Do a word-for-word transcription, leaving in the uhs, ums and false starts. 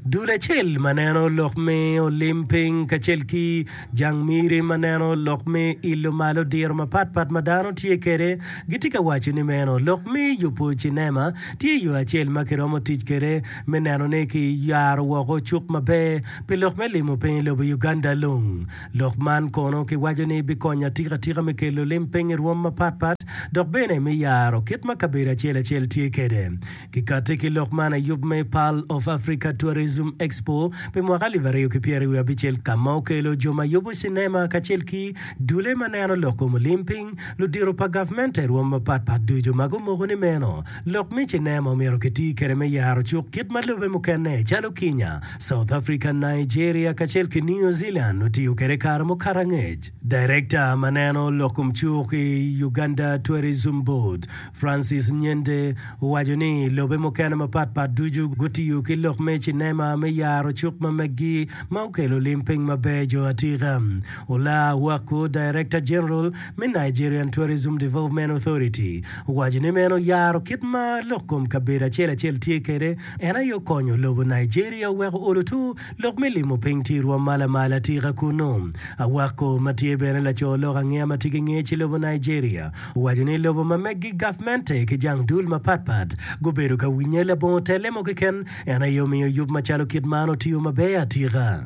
Dul acel ma neno lok me olim piny kacel ki jang miri ma neno lok me ilo malo diro mapatpat ma dano tye kwede gitye ka waco ni meno lok me yubo cinema tye yo acel ma kiromo tic kwede me neno ni kiyaro woko cuk maber pi lok me limo piny i lobo Uganda lung. Lok man kono kiwaco ni bikonyo atika atika me kelo lim piny i rwom mapatpat dok bene me yaro kit ma kabedo acel acel tye kwede. Kikati ki lok man i yub me Pearl of Africa Tourism Expo pi mwaka alip aryo ki pyeri wiye abicel ka ma okelo jo ma yubo cinema kacel ki dule ma neno lok kom olim piny, ludito pa gavmente i rwom mapatpat ducu ma gumoko ni meno lok me cinema omyero kiti kwede me yaro cuk kit ma lobe mukene calo Kenya, South Africa, Nigeria kacel ki New Zealand otiyo kwede kare mukato angec. Director ma neno lok kom cuk i Uganda Tourism Board, Francis Nyende owaco ni lobe mukene mapatpat ducu gutiyo ki lok me cinema me yaro cuk ma meggi ma okelo lim piny maber jo atika. Ola Awako, Director General me Nigerian Tourism Development Authority owaco ni meno yaro kit ma lok kom kabedo acel acel tye kwede en aye okonyo lobo Nigeria oweko olo tur lok me limo piny tye i rwom ma lamal atika kunnu. Awako ma tye bene laco lok angeya ma tye ki ngec i lobo Nigeria owaco ni lobo ma meggi gavmente ki jang dul mapatpat gubedo ka winye labongo telle mo keken en aye omiyo yub macalo kit man otiyo maber atika.